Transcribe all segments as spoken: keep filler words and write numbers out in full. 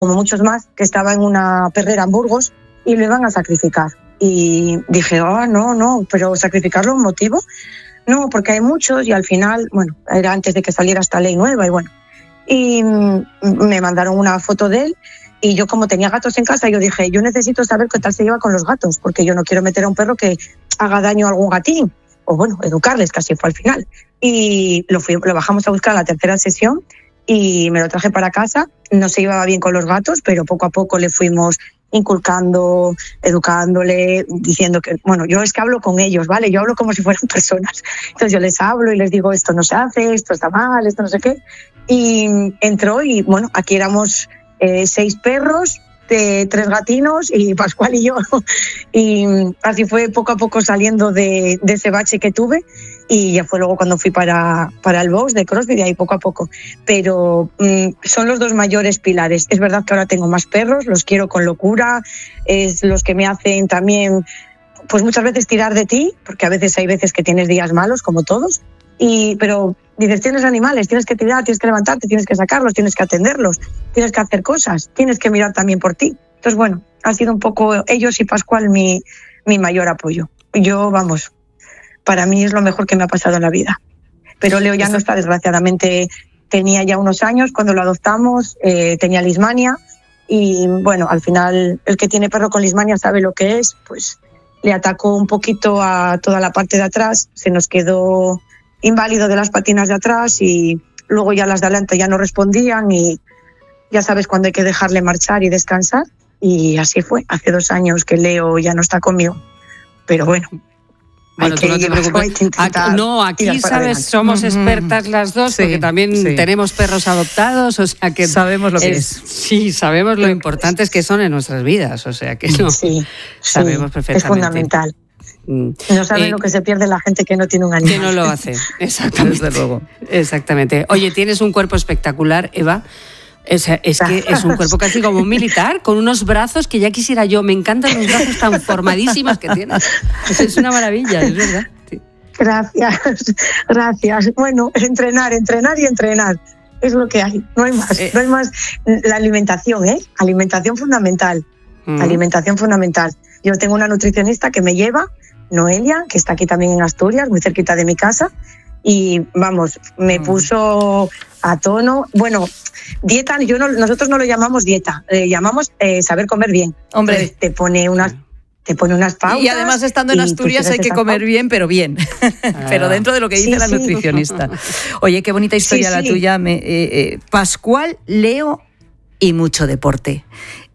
como muchos más, que estaba en una perrera en Burgos y lo iban a sacrificar. Y dije, oh, no, no, pero ¿sacrificarlo un motivo? No, porque hay muchos y al final, bueno, era antes de que saliera esta ley nueva y bueno. Y me mandaron una foto de él y yo, como tenía gatos en casa, yo dije, yo necesito saber qué tal se lleva con los gatos, porque yo no quiero meter a un perro que haga daño a algún gatín, o bueno, educarles, casi fue al final. Y lo, fui, lo bajamos a buscar a la tercera sesión y me lo traje para casa. No se llevaba bien con los gatos, pero poco a poco le fuimos inculcando, educándole, diciendo que, bueno, yo es que hablo con ellos, ¿vale? Yo hablo como si fueran personas. Entonces yo les hablo y les digo, esto no se hace, esto está mal, esto no sé qué. Y entró y, bueno, aquí éramos eh, seis perros, de tres gatinos y Pascual y yo. Y así fue poco a poco saliendo de, de ese bache que tuve. Y ya fue luego cuando fui para, para el box de CrossFit, y ahí poco a poco. Pero mmm, son los dos mayores pilares. Es verdad que ahora tengo más perros, los quiero con locura, es los que me hacen también, pues muchas veces tirar de ti, porque a veces hay veces que tienes días malos, como todos, y, pero dices, tienes animales, tienes que tirar, tienes que levantarte, tienes que sacarlos, tienes que atenderlos, tienes que hacer cosas, tienes que mirar también por ti. Entonces, bueno, ha sido un poco ellos y Pascual mi, mi mayor apoyo. Yo, vamos... Para mí es lo mejor que me ha pasado en la vida. Pero Leo ya no está, desgraciadamente. Tenía ya unos años cuando lo adoptamos, eh, tenía lismania y bueno, al final el que tiene perro con lismania sabe lo que es, pues le atacó un poquito a toda la parte de atrás, se nos quedó inválido de las patinas de atrás y luego ya las de adelante ya no respondían y ya sabes cuando hay que dejarle marchar y descansar, y así fue. Hace dos años que Leo ya no está conmigo, pero bueno. Bueno, tú no te preocupes. Aquí, no, aquí, sabes, somos expertas las dos, sí, porque también sí. tenemos perros adoptados, o sea que... Sabemos lo que es. es. Sí, sabemos lo importantes que son en nuestras vidas, o sea que no, sí, sabemos sí, perfectamente. Es fundamental. No saben eh, lo que se pierde la gente que no tiene un animal. Que no lo hace, exactamente. Desde luego. Exactamente. Oye, tienes un cuerpo espectacular, Eva. Es, es que es un cuerpo casi como un militar, con unos brazos que ya quisiera yo. Me encantan los brazos tan formadísimos que tienes. Es una maravilla, es verdad. Sí. Gracias, gracias. Bueno, entrenar, entrenar y entrenar. Es lo que hay, no hay más. Eh. No hay más. La alimentación, ¿eh? Alimentación fundamental. Mm. Alimentación fundamental. Yo tengo una nutricionista que me lleva, Noelia, que está aquí también en Asturias, muy cerquita de mi casa. Y vamos, me puso a tono. Bueno, dieta, yo no, nosotros no lo llamamos dieta, eh, llamamos eh, saber comer bien. Hombre, entonces, te pone unas, te pone unas pautas. Y además, estando en Asturias hay que comer pautas. bien, pero bien. Ah. Pero dentro de lo que dice sí, la sí. nutricionista. Oye, qué bonita historia sí, la sí. tuya. Me, eh, eh, Pascual, Leo y mucho deporte.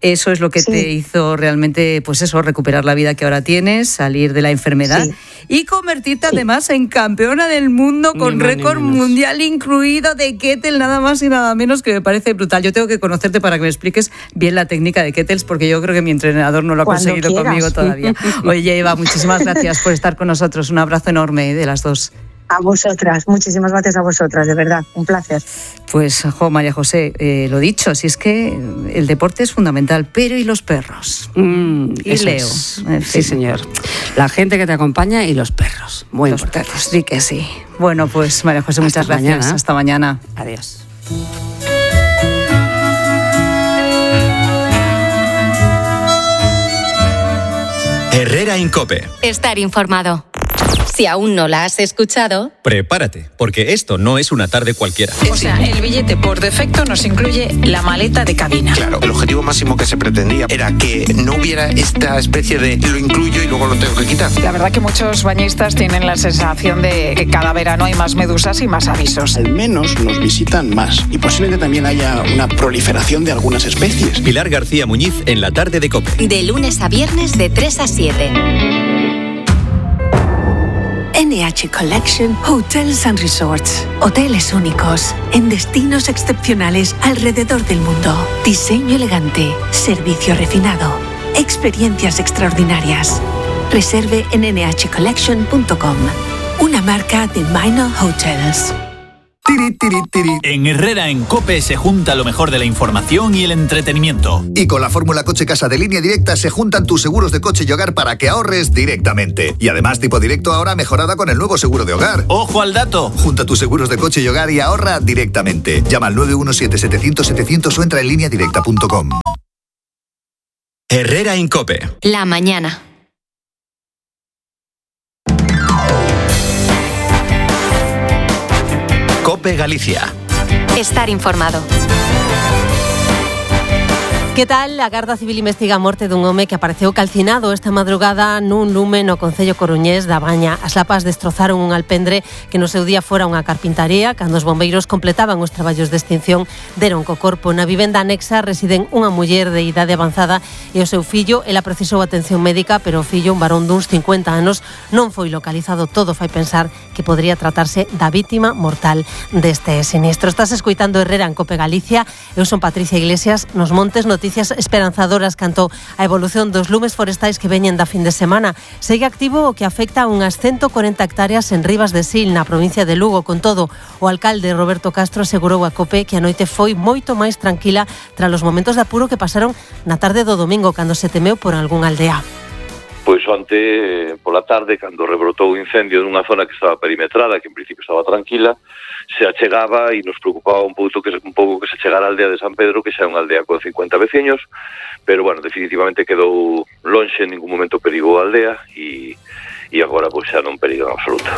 Eso es lo que sí. te hizo realmente, pues eso, recuperar la vida que ahora tienes, salir de la enfermedad sí. y convertirte sí. además en campeona del mundo con récord mundial incluido de kettle, nada más y nada menos, que me parece brutal. Yo tengo que conocerte para que me expliques bien la técnica de kettles, porque yo creo que mi entrenador no lo ha Cuando conseguido quieras. conmigo todavía. Oye, Eva, muchísimas gracias por estar con nosotros. Un abrazo enorme de las dos. A vosotras, muchísimas gracias a vosotras, de verdad, un placer. Pues, jo, María José, eh, lo dicho, si es que el deporte es fundamental, pero ¿y los perros? Mm, y Leo. Es. En fin. Sí, señor. La gente que te acompaña y los perros, muy los importantes. Perros, sí que sí. Bueno, pues, María José, muchas Hasta gracias. Mañana. Hasta mañana. Adiós. Herrera en COPE. Estar informado. Si aún no la has escuchado, prepárate, porque esto no es una tarde cualquiera. O sea, el billete por defecto nos incluye la maleta de cabina. Claro, el objetivo máximo que se pretendía era que no hubiera esta especie de lo incluyo y luego lo tengo que quitar. La verdad que muchos bañistas tienen la sensación de que cada verano hay más medusas y más avisos. Al menos nos visitan más y posiblemente también haya una proliferación de algunas especies. Pilar García Muñiz en la tarde de COPE. De lunes a viernes de tres a siete. N H Collection Hotels and Resorts. Hoteles únicos en destinos excepcionales alrededor del mundo. Diseño elegante, servicio refinado, experiencias extraordinarias. Reserve en ene hache collection punto com. Una marca de Minor Hotels. Tiri, tiri, tiri. En Herrera en COPE se junta lo mejor de la información y el entretenimiento. Y con la fórmula Coche Casa de Línea Directa se juntan tus seguros de coche y hogar para que ahorres directamente. Y además tipo directo ahora mejorada con el nuevo seguro de hogar. ¡Ojo al dato! Junta tus seguros de coche y hogar y ahorra directamente. Llama al nueve uno siete, setecientos, setecientos o entra en línea directa punto com. Herrera en COPE. La mañana. COPE Galicia. Estar informado. Que tal? A Garda Civil investiga a morte dun home que apareceu calcinado esta madrugada nun lume no concello coruñés da Baña. As lapas destrozaron un alpendre que no seu día fora unha carpintaría. Cando os bombeiros completaban os traballos de extinción, deron co corpo. Na vivenda anexa residen unha muller de idade avanzada e o seu fillo. Ela precisou atención médica, pero o fillo, un varón duns cincuenta anos, non foi localizado. Todo fai pensar que podría tratarse da vítima mortal deste sinistro. Estás escoitando Herrera en COPE Galicia. Eu son Patricia Iglesias. Nos montes, noticias esperanzadoras canto a evolución dos lumes forestais que veñen da fin de semana. Segue activo o que afecta a unhas ciento corenta hectáreas en Rivas de Sil, na provincia de Lugo. Con todo, o alcalde Roberto Castro asegurou a COPE que a noite foi moito máis tranquila tras os momentos de apuro que pasaron na tarde do domingo, cando se temeu por algunha aldea. Pois onte, pola tarde, cando rebrotou o incendio nunha zona que estaba perimetrada, que en principio estaba tranquila, se achegaba e nos preocupaba un pouco que un pouco que se chegara a aldea de San Pedro, que xa é unha aldea con cincuenta veciños, pero bueno, definitivamente quedou lonxe, en ningún momento perigou a aldea e, e agora pois xa non periga en absoluto.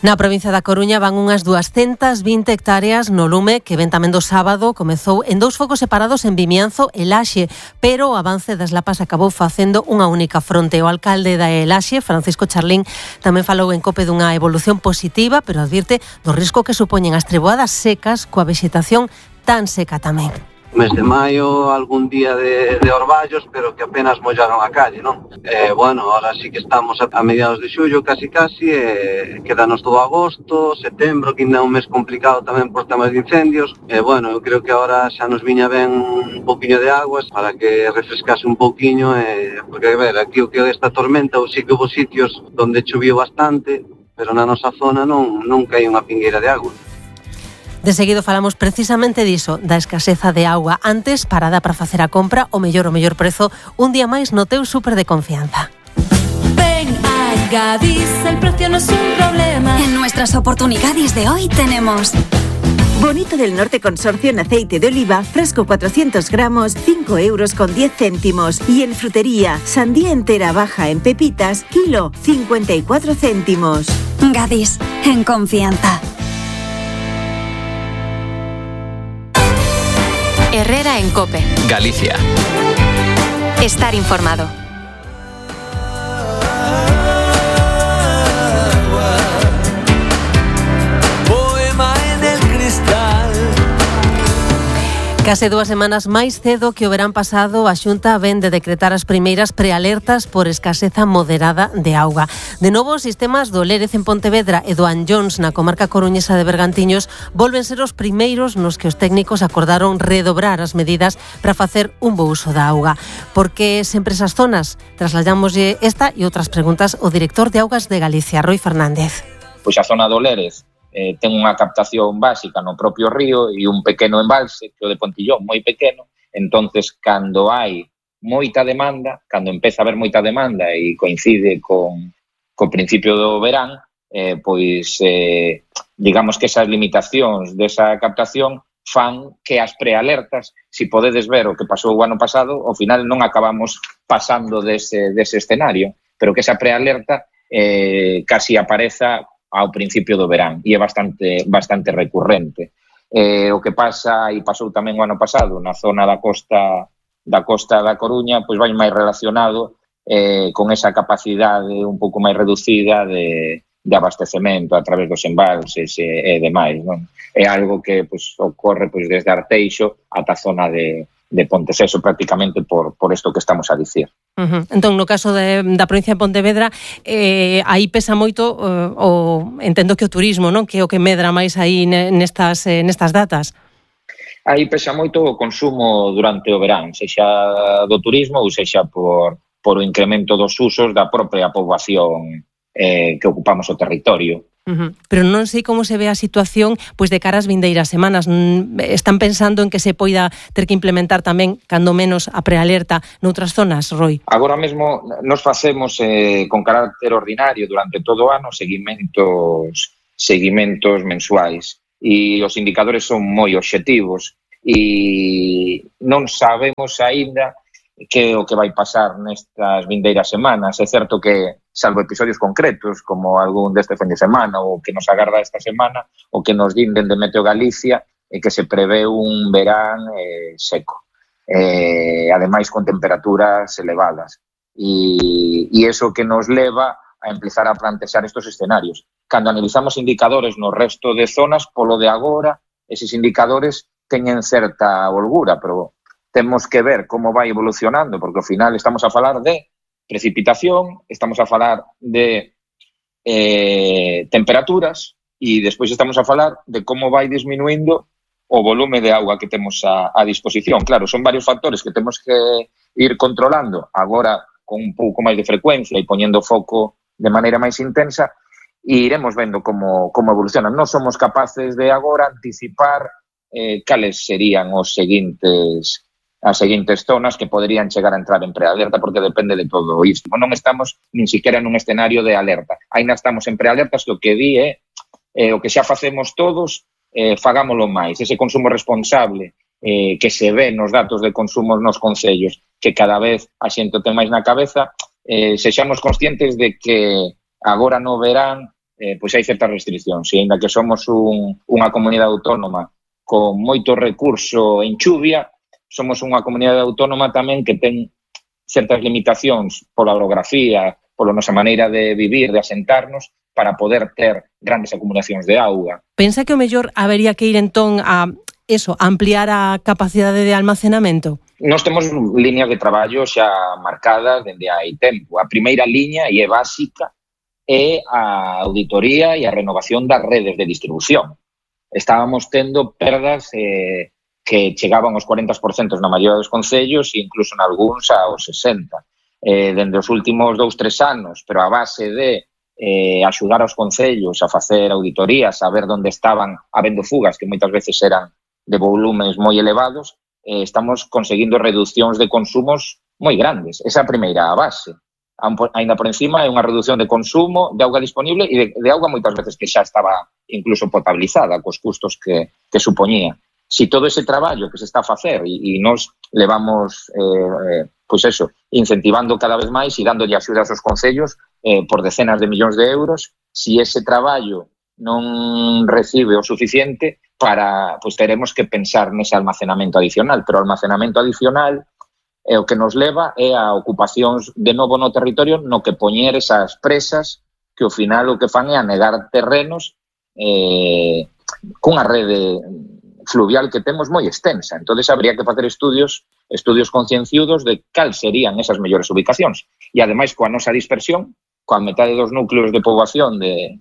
Na provincia da Coruña van unhas duascentas vinte hectáreas no lume que ven tamén do sábado. Comezou en dous focos separados en Vimianzo e Laxe, pero o avance das lapas acabou facendo unha única fronte. O alcalde da Laxe, Francisco Charlín, tamén falou en COPE dunha evolución positiva, pero advirte do risco que supoñen as treboadas secas coa vexetación tan seca tamén. Mes de maio, algún día de, de orballos, pero que apenas mollaron a calle, non? Eh, bueno, ahora sí que estamos a, a mediados de xullo, casi casi, eh, quedanos todo agosto, setembro, que ainda é un mes complicado tamén por temas de incendios. Eh, bueno, eu creo que ahora xa nos viña ben un poquinho de aguas para que refrescase un poquinho, eh, porque, a ver, aquí o que esta tormenta, ou sí que houve sitios donde choviu bastante, pero na nosa zona non, non cae unha pingueira de agua. De seguido falamos precisamente diso, da escaseza de auga. Antes, parada para facer a compra, o mellor o mellor prezo, un día máis no teu súper de confianza. Ven a Gadis, el precio no es un problema. En nuestras oportunidades de hoy tenemos Bonito del Norte Consorcio en aceite de oliva, fresco cuatrocientos gramos, cinco euros con diez céntimos. Y en frutería, sandía entera baja en pepitas, kilo, cincuenta y cuatro céntimos. Gadis, en confianza. Herrera en COPE. Galicia. Estar informado. Poema en el cristal. Case dúas semanas máis cedo que o verán pasado, a Xunta ven de decretar as primeiras prealertas por escaseza moderada de auga. De novo, os sistemas do Lérez en Pontevedra e do Anllóns na comarca coruñesa de Bergantiños volven ser os primeiros nos que os técnicos acordaron redobrar as medidas para facer un bo uso da auga. Por que sempre esas zonas? Trasladamoslle esta e outras preguntas ao director de Augas de Galicia, Roi Fernández. Pois a zona do Lérez Eh, ten unha captación básica no propio río e un pequeno embalse, que o de Pontillón, moi pequeno. Entonces, cando hai moita demanda, cando empeza a haber moita demanda e coincide con co principio do verán, eh, pois, eh, digamos que esas limitacións desa captación fan que as prealertas, si podedes ver o que pasou o ano pasado, ao final non acabamos pasando dese, dese escenario, pero que esa prealerta eh, casi apareza ao principio do verán e é bastante bastante recurrente. Eh, o que pasa, e pasou tamén o ano pasado, na zona da costa da costa da Coruña, pois vai máis relacionado eh, con esa capacidade un pouco máis reducida de, de abastecemento a través dos embalses e, e demais, non? É algo que pois, ocorre pois, desde Arteixo ata a zona de de Ponteceso prácticamente por, por isto que estamos a dicir. Uh-huh. Entón, no caso de, da provincia de Pontevedra, eh, aí pesa moito uh, o, entendo que o turismo, non? Que é o que medra máis aí nestas, eh, nestas datas. Aí pesa moito o consumo durante o verán, sexa do turismo ou sexa por, por o incremento dos usos da propia poboación eh, que ocupamos o territorio. Uh-huh. Pero non sei como se ve a situación pois de cara ás vindeiras semanas. Están pensando en que se poida ter que implementar tamén, cando menos, a prealerta noutras zonas, Roi? Agora mesmo nos facemos eh, con carácter ordinario durante todo o ano seguimentos, seguimentos mensuais e os indicadores son moi obxectivos e non sabemos aínda que o que vai pasar nestas vindeiras semanas. É certo que, salvo episodios concretos, como algún deste fin de semana ou que nos agarda esta semana, o que nos din dende Meteo Galicia é que se prevé un verán eh, seco, eh, ademais con temperaturas elevadas. E, e iso que nos leva a empezar a plantexar estos escenarios. Cando analizamos indicadores no resto de zonas, polo de agora, eses indicadores teñen certa holgura, pero temos que ver como vai evolucionando, porque ao final estamos a falar de precipitación, estamos a falar de eh, temperaturas e despois estamos a falar de como vai disminuindo o volume de auga que temos a, a disposición. Claro, son varios factores que temos que ir controlando agora con un pouco máis de frecuencia e poñendo foco de maneira máis intensa e iremos vendo como, como evolucionan. Non somos capaces de agora anticipar eh, cales serían os seguintes as seguintes zonas que poderían chegar a entrar en prealerta, porque depende de todo isto. Non estamos nin siquiera nun escenario de alerta. Ainda estamos en prealertas, que o que di é eh, o que xa facemos todos, eh, fagámolo máis. Ese consumo responsable eh, que se ve nos datos de consumo nos concellos, que cada vez a xente ten máis na cabeza, eh, sexamos conscientes de que agora no verán eh, pois hai certas restriccións, e ainda que somos un, unha comunidade autónoma con moito recurso en chuvia, somos unha comunidade autónoma tamén que ten certas limitacións pola orografía, pola nosa maneira de vivir, de asentarnos, para poder ter grandes acumulacións de auga. Pensa que o mellor habería que ir entón a eso, ampliar a capacidade de almacenamento? Nós temos líneas de traballo xa marcadas dende hai tempo. A primeira liña, e é básica, é a auditoría e a renovación das redes de distribución. Estábamos tendo perdas eh, que chegaban aos cuarenta por cento na maioría dos concellos e incluso en algúns aos sesenta por cento. Eh, dende os últimos dous, tres anos, pero a base de eh, axudar aos concellos a facer auditorías, a ver onde estaban habendo fugas, que moitas veces eran de volumes moi elevados, eh, estamos conseguindo reduccións de consumos moi grandes. Esa é a primeira base. Ainda por encima é unha reducción de consumo de auga disponible e de, de auga moitas veces que xa estaba incluso potabilizada, cos custos que, que supoñía. Si todo ese traballo que se está a facer e, e nos levamos, eh, pois eso, incentivando cada vez máis e dándolle axudas aos concellos eh, por decenas de millóns de euros, si ese traballo non recibe o suficiente, para, pois teremos que pensar nese almacenamento adicional, pero o almacenamento adicional é o que nos leva é a ocupacións de novo no territorio, no que poñer esas presas que ao final o que fan é anegar terrenos eh, cunha rede fluvial que temos moi extensa. Entonces habría que facer estudios estudios concienciudos de cal serían esas mellores ubicacións. E ademais, coa nosa dispersión, coa metade dos núcleos de poboación de,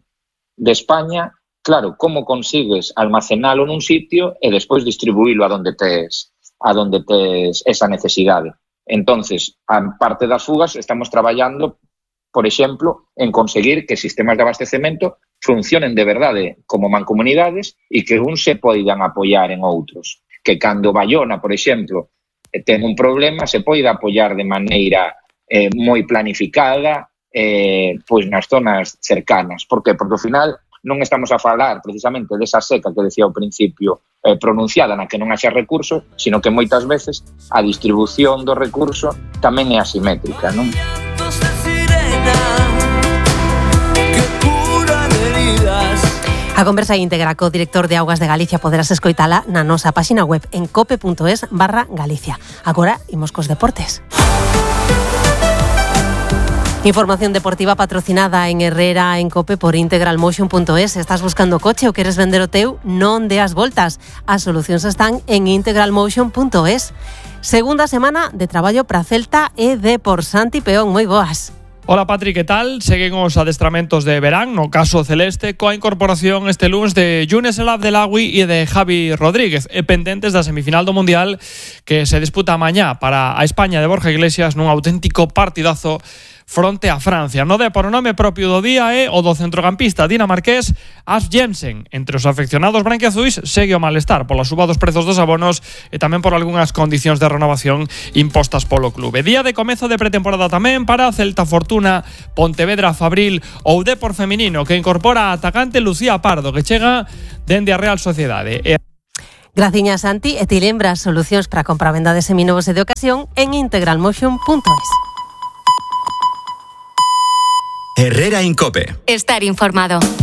de España, claro, como consigues almacenalo nun sitio e despois distribuílo a donde tes, a donde tes esa necesidade. Entonces, a parte das fugas, estamos traballando, por exemplo, en conseguir que sistemas de abastecemento funcionen de verdade como mancomunidades e que uns se poidan apoiar en outros. Que cando Bayona, por exemplo, ten un problema, se poida apoiar de maneira eh, moi planificada eh, pois nas zonas cercanas. Por que? Porque ao final non estamos a falar precisamente desa seca que decía ao principio eh, pronunciada na que non haxa recurso, sino que moitas veces a distribución do recurso tamén é asimétrica, non? A conversa íntegra co director de Augas de Galicia poderás escoitala na nosa páxina web en cope.es barra Galicia. Agora, imos cos deportes. Información deportiva patrocinada en Herrera en Cope por integralmotion punto es. Estás buscando coche ou queres vender o teu? Non deas voltas. As solucións están en integralmotion punto es. Segunda semana de traballo para Celta e de por Santi Peón. Moi boas. Hola Patri, que tal? Seguen os adestramentos de verán, no caso celeste, coa incorporación este lunes de Younes El Abdelagui e de Javi Rodríguez, e pendentes da semifinal do Mundial que se disputa mañá para a España de Borja Iglesias nun auténtico partidazo fronte a Francia. No Depor, o nome propio do día é o do centrocampista dinamarqués As Jensen. Entre os afeccionados branquiazuis segue o malestar pola suba dos prezos dos abonos e tamén por algunhas condicións de renovación impostas polo clube. Día de comezo de pretemporada tamén para Celta, Fortuna, Pontevedra, Fabril ou Depor feminino, que incorpora a atacante Lucía Pardo, que chega dende a Real Sociedade. E Graciñas, Santi, e ti lembras solucións para compra-venda de seminovos e de ocasión en integralmotion punto es. Herrera Incope. Estar informado.